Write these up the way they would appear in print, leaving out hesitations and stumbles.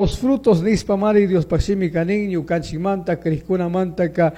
Los frutos nishpamari Diospaj shimika nin ñukanchikmanta crijkunamantaka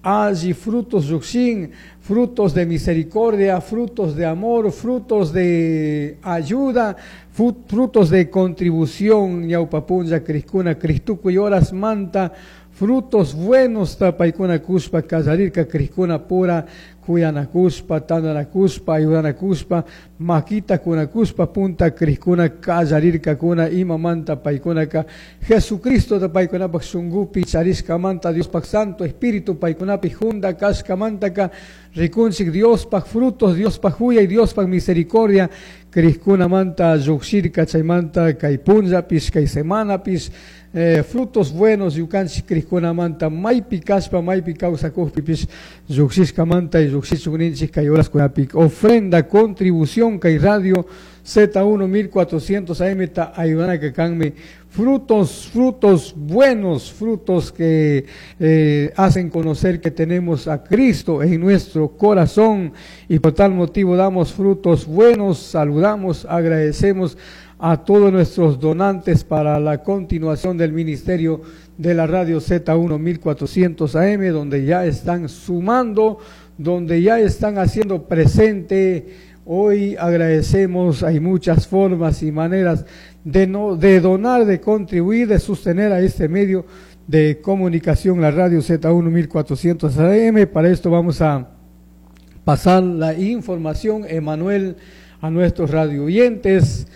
alli frutos llujshin, frutos de misericordia, frutos de amor, frutos de ayuda, frutos de contribución. Ñawpa punlla crijkuna Cristukuy horasmanta frutos buenos paykuna kushpa kallarirka crijkuna pura kuyanakushpa, tandanakushpa, ayudanakushpa, makita kunakushpa punta crijkuna kallarirkakuna. Imamanta? Paykunaka Jesucristo paykunapak shunkupi charishkamanta, Diospaj Santo Espíritu paykunapi junda kashkamantaka rikunchik Diospaj frutos, Diospaj juyay, Diospaj misericordia crijkunamanta llujshirka. Chaymanta kay punllapish, kay semanapish frutos buenos ñukanchik crijkunamanta maypi kashpa, maypi kawsakujpipish llujshishkamanta y llujshichun ninchik kay horaskunapi. Ofrenda, contribución kay radio Z1 1400 AM ta ayudanaka kanmi frutos, frutos buenos, frutos que hacen conocer que tenemos a Cristo en nuestro corazón y por tal motivo damos frutos buenos. Saludamos, agradecemos a todos nuestros donantes para la continuación del ministerio de la radio Z1 1400 AM, donde ya están sumando, donde ya están haciendo presente. Hoy agradecemos, hay muchas formas y maneras de, no, de donar, de contribuir, de sostener a este medio de comunicación, la radio Z1 1400 AM. Para esto vamos a pasar la información, Emanuel, a nuestros radio oyentes.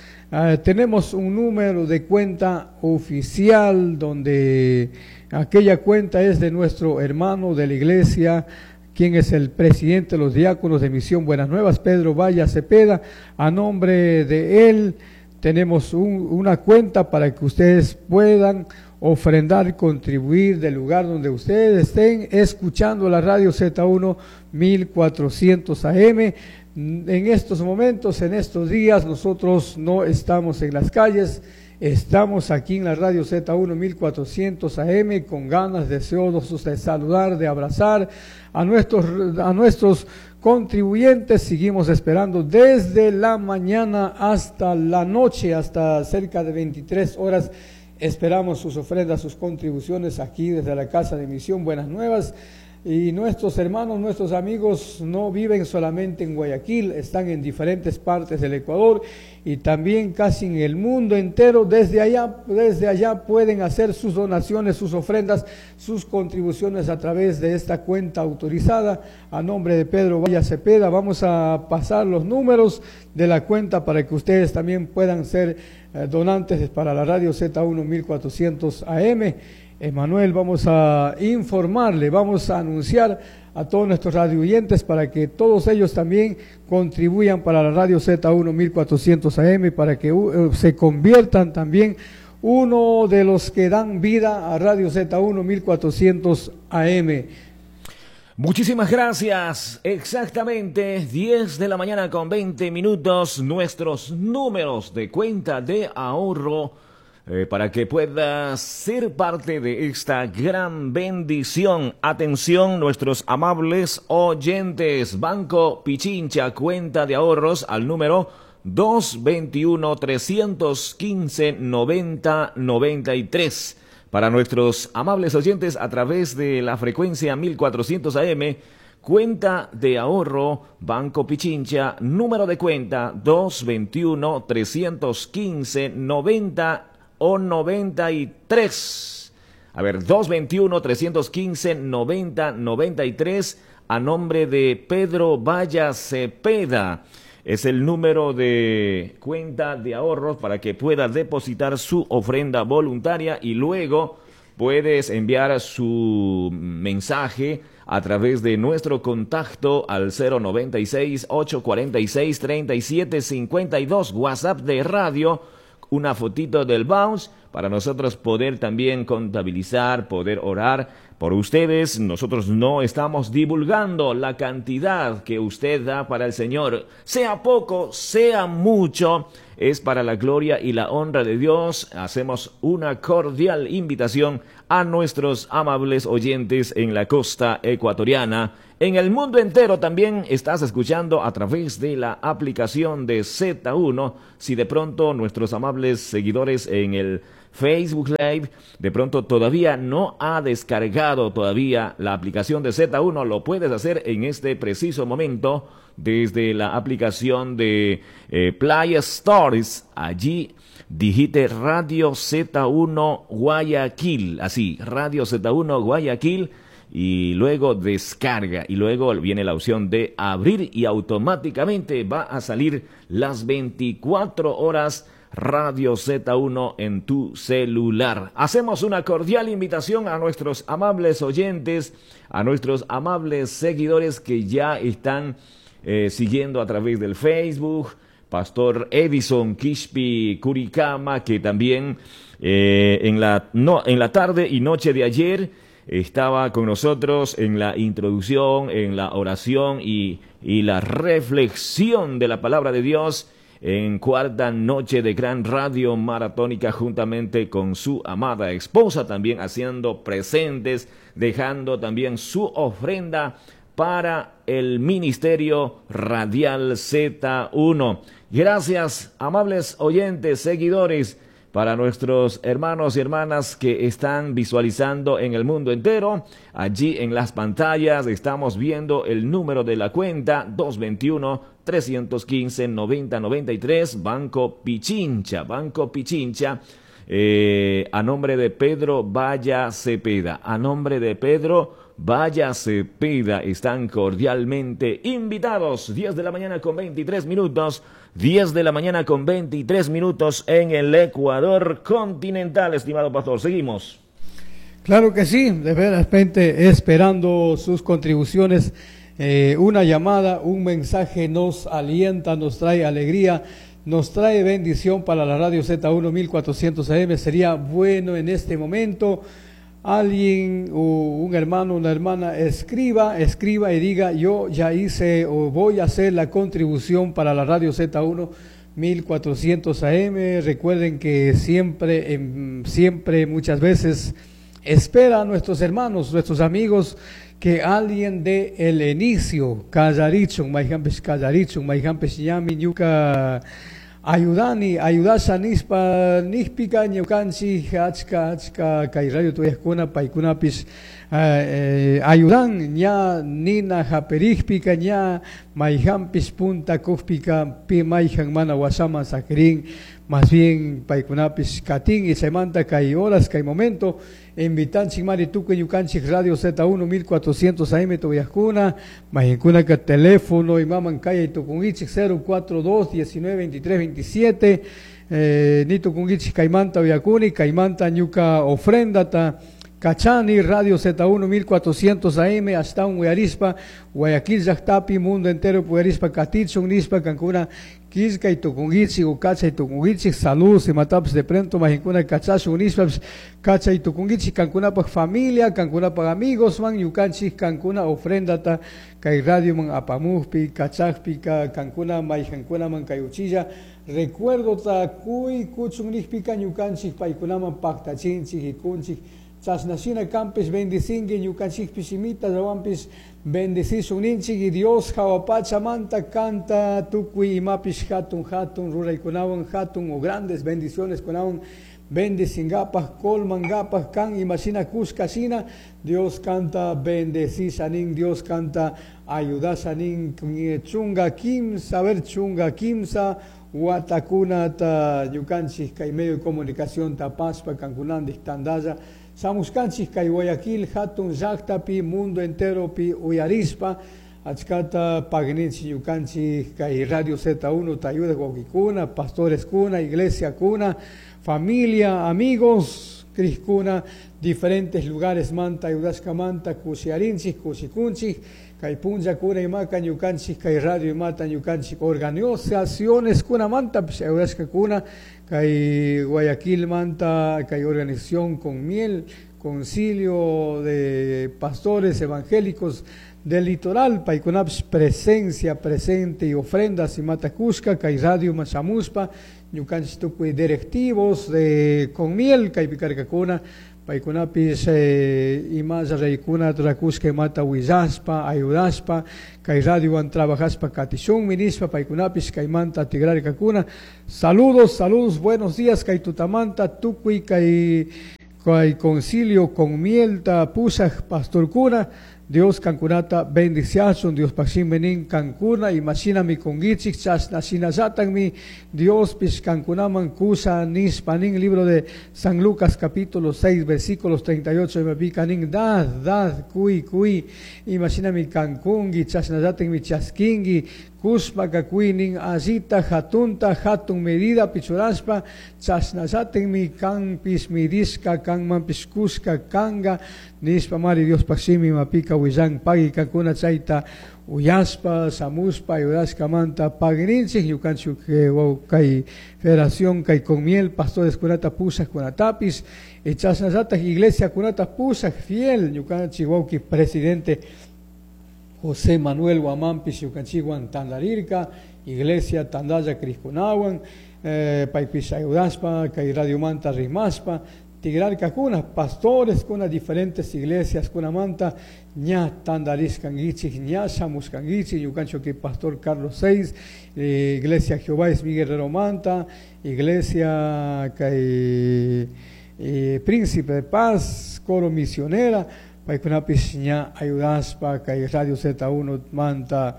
Tenemos un número de cuenta oficial donde aquella cuenta es de nuestro hermano de la iglesia, quien es el presidente de los diáconos de Misión Buenas Nuevas, Pedro Valle Cepeda. A nombre de él tenemos una cuenta para que ustedes puedan ofrendar, contribuir del lugar donde ustedes estén escuchando la radio Z1 1400 AM. En estos momentos, en estos días, nosotros no estamos en las calles, estamos aquí en la radio Z1 1400 AM con ganas, deseosos de saludar, de abrazar a nuestros contribuyentes. Seguimos esperando desde la mañana hasta la noche, hasta cerca de 23 horas. Esperamos sus ofrendas, sus contribuciones aquí desde la Casa de Misión Buenas Nuevas. Y nuestros hermanos, nuestros amigos no viven solamente en Guayaquil, están en diferentes partes del Ecuador y también casi en el mundo entero. Desde allá pueden hacer sus donaciones, sus ofrendas, sus contribuciones a través de esta cuenta autorizada a nombre de Pedro Valle Cepeda. Vamos a pasar los números de la cuenta para que ustedes también puedan ser donantes para la radio Z1 1400 AM. Emanuel, vamos a informarle, vamos a anunciar a todos nuestros radio oyentes para que todos ellos también contribuyan para la radio Z1 1400 AM, para que se conviertan también uno de los que dan vida a Radio Z1 1400 AM. Muchísimas gracias. Exactamente 10 de la mañana con 20 minutos. Nuestros números de cuenta de ahorro para que puedas ser parte de esta gran bendición. Atención, nuestros amables oyentes. Banco Pichincha, cuenta de ahorros al número 221 315 90 93. Para nuestros amables oyentes a través de la frecuencia 1400 AM, cuenta de ahorro Banco Pichincha, número de cuenta 221 315 90 o 93. A ver, 221 315 90 93 a nombre de Pedro Valla Cepeda. Es el número de cuenta de ahorros para que pueda depositar su ofrenda voluntaria y luego puedes enviar su mensaje a través de nuestro contacto al 096 846 37 52, WhatsApp de radio, una fotito del bounce para nosotros poder también contabilizar, poder orar por ustedes. Nosotros no estamos divulgando la cantidad que usted da para el Señor, sea poco, sea mucho, es para la gloria y la honra de Dios. Hacemos una cordial invitación a nuestros amables oyentes en la costa ecuatoriana. En el mundo entero también estás escuchando a través de la aplicación de Z1. Si de pronto nuestros amables seguidores en el Facebook Live. De pronto todavía no ha descargado todavía la aplicación de Z1. Lo puedes hacer en este preciso momento desde la aplicación de Play Stores. Allí digite Radio Z1 Guayaquil. Así, Radio Z1 Guayaquil. Y luego descarga y luego viene la opción de abrir y automáticamente va a salir las 24 horas Radio Z1 en tu celular. Hacemos una cordial invitación a nuestros amables oyentes, a nuestros amables seguidores que ya están siguiendo a través del Facebook. Pastor Edison Quispi Curicama, que también en la tarde y noche de ayer estaba con nosotros en la introducción, en la oración y la reflexión de la palabra de Dios en cuarta noche de gran radio maratónica juntamente con su amada esposa, también haciendo presentes, dejando también su ofrenda para el Ministerio Radial Z1. Gracias, amables oyentes, seguidores, para nuestros hermanos y hermanas que están visualizando en el mundo entero. Allí en las pantallas estamos viendo el número de la cuenta 221-315-9093, Banco Pichincha, Banco Pichincha, a nombre de Pedro Valla Cepeda, a nombre de Pedro Valla Cepeda, están cordialmente invitados. 10 de la mañana con 23 minutos, 10 de la mañana con 23 minutos en el Ecuador continental, estimado pastor. Seguimos. Claro que sí, de repente esperando sus contribuciones, una llamada, un mensaje nos alienta, nos trae alegría, nos trae bendición para la radio Z1 1400 AM. Sería bueno en este momento alguien o un hermano, una hermana, escriba y diga: yo ya hice o voy a hacer la contribución para la radio Z1 1400 AM. Recuerden que siempre, muchas veces espera a nuestros hermanos, nuestros amigos, que alguien dé el inicio. Kallarichun, mayjanpish kallarichun, mayjanpish ñami ñuka ayudani, ayudasha nispa, nispika ñukanchik, achka, achka, kay radio tuyajkuna, paykunapis ayudan, ña nina japerijpika, ña mayjanpis punta kujpika, pi mayjan mana wasaman sakirin, más bien paykunapis katin y chaymanta kay horas, kay momento, invitanchik mari tukuy ñukanchik Radio Z1 1400 AM tuyajkuna, mayjankuna ka teléfono imaman kayay tukunkichik 042 19 23 27, nitukunkichik kaymanta uyakuni, kaymanta ñuka ofrendata Cachani, Radio Z1 1400 AM, hasta un uyarispa, Guayaquil llaqtapi, mundo entero uyarispa, katichun nispa, kankuna killka y tukunkichik, o kacha y tukunkichik, saludos y mataps de pronto, majinkuna kachashun nispa, kacha y tukunkichik, kankunapaj familia, kankunapaj amigos, man, ñukanchik, kankuna ofrendata, kay radio man apamujpi, kachajpi, kankuna mayjankuna man kay uchilla, recuerdo ta kuy kuchun nijpika ñukanchik, paykunaman paktachinchik, ikunchik, chasnashina kampis bendicinki ñukanchikpis imita llawanpis bendicisun ninchik y Dios jawapachamanta kanta tukuy imapis hatun hatun ruraykunawan hatun o grandes bendiciones kunawan bendicingapaj kolmangapaj kan imashina kushkashina Dios canta bendecisanin, Dios canta ayudasanin chunga kimsa, a ver chunga kimsa watakunata ñukanchik kay medio de comunicación tapaspa kankunandik tandalla samuskanchik kay Guayaquil hatun llaqtapi mundo entero pi uyarispa achkata pagninchik ñukanchik kay Radio Z1 tayuda wawqikuna, pastores kuna, iglesia kuna, familia, amigos, criskuna, diferentes lugares manta ayudashka manta kushiarinchik, kushikunchik, kay punllakuna imaka ñukanchik kay radio imata ñukanchik organizaciones kuna manta ayudashka kuna kay Guayaquil manta kay organización con miel, concilio de pastores evangélicos del litoral, paykunapish presencia, presente y ofrendas imata kushka kay radio machamuspa Ñukanchik tukuy directivos de Conmiel kaypi karkakuna, paykunapish imalla raykunata rakushka imata willashpa, ayudashpa, kay radiowan trabajashpa katishunmi nishpa paykunapish kaymanta tigrarkakuna. Saludos, saludos, buenos días kay tutamanta tukuy kay concilio Conmielta pushaj pastorkuna. Dios kankunata bendiciachun, Dios nin kankuna imashinami kunkichik chashna shinallatakmi Diospish kankunaman kusha nishpa nin libro de San Lucas capítulo 6 versículos 38 imapika nin dad, dad, kui, kui, imashinami kankunki chashnallatakmi chaskinki kushpaka kuy allita hatunta hatun medida pichurashpa chashnallatakmi kanpish midishka kanmanpish kushka kanga nishpa mari Diospaj shimi imapika willan pagui kankuna chayta uyashpa shamushpa ayudashkamanta paguininchik ñukanchik kay federación kay Conmiel pastores kunata pushak kunatapis chashnallatak iglesia kunata pushak fiel ñukanchik wawki presidente José Manuel Guamampish ñukanchikwan tandarirka iglesia tandalla krishkunawan paypish ayudashpa kay radiomanta rimashpa tigrarkakuna pastores kuna diferentes iglesias kunamanta ña tandarishkankichik ña shamushkankichik ñukanchik pastor Carlos VI iglesia Jehová es mi guerrero manta iglesia kay Príncipe de Paz coro misionera paykunapish ña ayudashpa kay Radio Z1 manta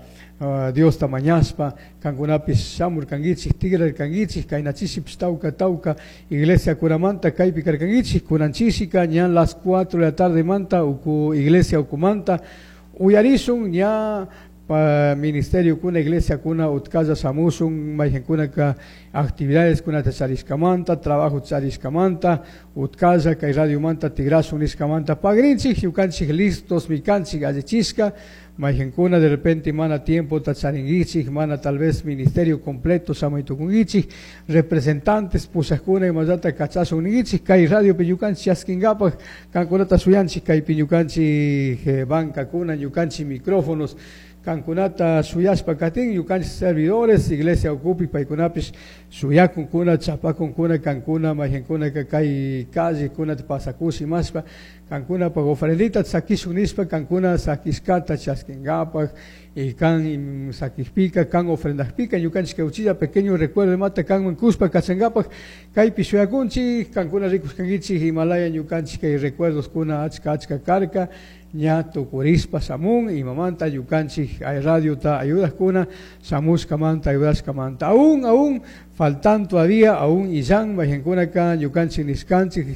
Diosta mañashpa kankunapish shamurkankichik tigrarkankichik kaynachishipish tawka tawka iglesia kuramanta kaypi karkankichik kunanchisika ña las 4 de la tarde manta uku iglesia ukumanta uyarishun ña pa ministerio kuna iglesia kuna utkalla shamushun mayqinkunaka actividades kunata charishkamanta trabajo charishkamanta utkalla kay radiomanta tigrashun nishkamanta pagrinchik ñukanchik listos mikanchik allichishka mayqinkuna de repente mana tiempo charinkichik mana tal vez ministerio completo shamaytukunkichik representantes pushakuna imallata kachashun ninkichik kay radiopi ñukanchik chaskinkapak kankunata shuyanchik kaypi ñukanchik bancakuna ñukanchik micrófonos kankunata shuyashpa katin ñukanchik servidores iglesia ukupi paykunapish shuyakunkuna chapakunkuna kankuna mayqinkunaka kay calle kunata pasakush imashpa kankunapak ofrendita sakishun nishpa kankuna sakishkata chaskinkapak y kan sakishpika kan ofrendajpika ñukanchik kay uchilla pequeño recuerdo imata kanman kushpa kachankapak kaypi shuyakunchik kankuna rikushkankichik Himalaya ñukanchik kay recuerdos kuna achka achka karka ña tukurishpa shamun imamanta ñukanchik radiota ayudajkuna shamushkamanta ayudashkamanta aún aún faltan todavía aún illan mayqinkunaka ñukanchik nishkanchik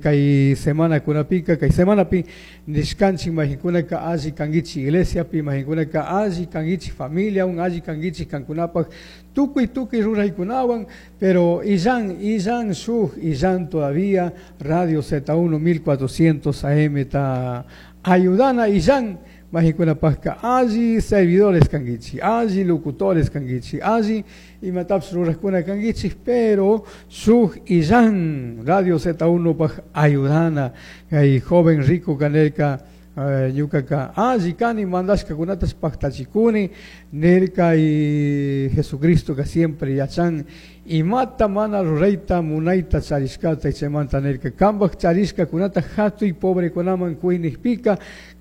kay semana kunapika kay semanapi nishkanchik mayqinkunaka alli kankichik iglesiapi mayqinkunaka alli kankichik familiawan alli kankichik kankunapak tukuy tukuy ruraykunawan pero illan illan shuk illan todavía Radio Z1 1400 AM ta ayudana illan mayqinkunapakka alli servidores kankichik alli locutores kankichik alli imatapish rurajkuna kankichik pero shuk illan Radio Z1 paj ayudana kay joven rico kanelka ñukaka alli kani mandashkakunatash paktachikuni nirka y Jesucristo ka siempre yachan imata mana rurayta munayta charishkata chaymanta nirka kanpak charishkakunata hatuy pobrekunaman kuynijpika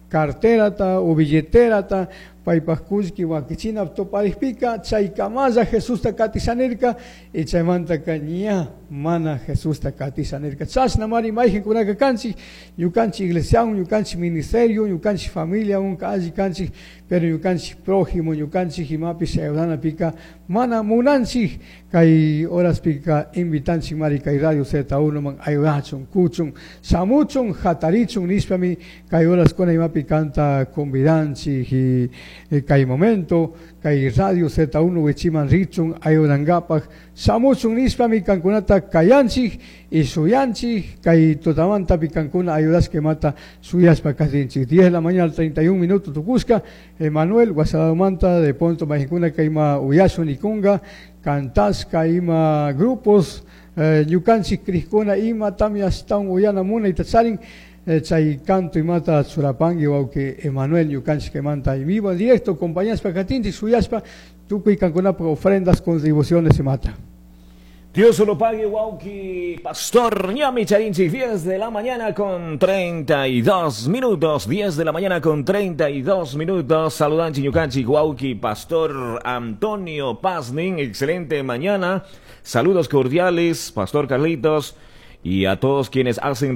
carterata o billetterata paypaj kullki wakichina tuparikpika chaykamalla Jesusta katisha nirka y chaymantaka ña mana Jesusta katisha nirka. Chashnamari mayqinkunaka kanchik ñukanchik iglesiawan ñukanchik ministerio ñukanchik familiawan alli kanchik pero ñukanchik prójimo ñukanchik imapish ayudanapika mana munanchik kay horaspika invitanchik mari kay Radio Z1 man ayudachun kuchun shamuchun hatarichun nishpami kay horaskuna imapi kanta convidanchik y kay momento kay Radio Z1 wichiman richun ayudankapak shamuchun nishpami kankunata kayanchik y shuyanchik kay tutamantapi kankuna ayudashka imata shuyashpa katinchik. 10 de la mañana al 31 minutos tukushka Emanuel Guasadamanta de Ponto mayqinkuna kayma uyashun nikunga kantashka ima grupos ñukanchik krishkuna ima tamya ashtawan uyana munayta charin chay canto imata churapanki wawki Emanuel ñukanchik kaymanta en vivo en directo acompañashpa katinchik shuyashpa tukuy kankunapaj ofrendas contribuciones imata. Dios lo pague, Wauki Pastor Ñami Charinchi, 10 de la mañana con 32 minutos, 10 de la mañana con 32 minutos. Saludan Chiñucanchi, Wauki Pastor Antonio Paznin, excelente mañana. Saludos cordiales, Pastor Carlitos, y a todos quienes hacen.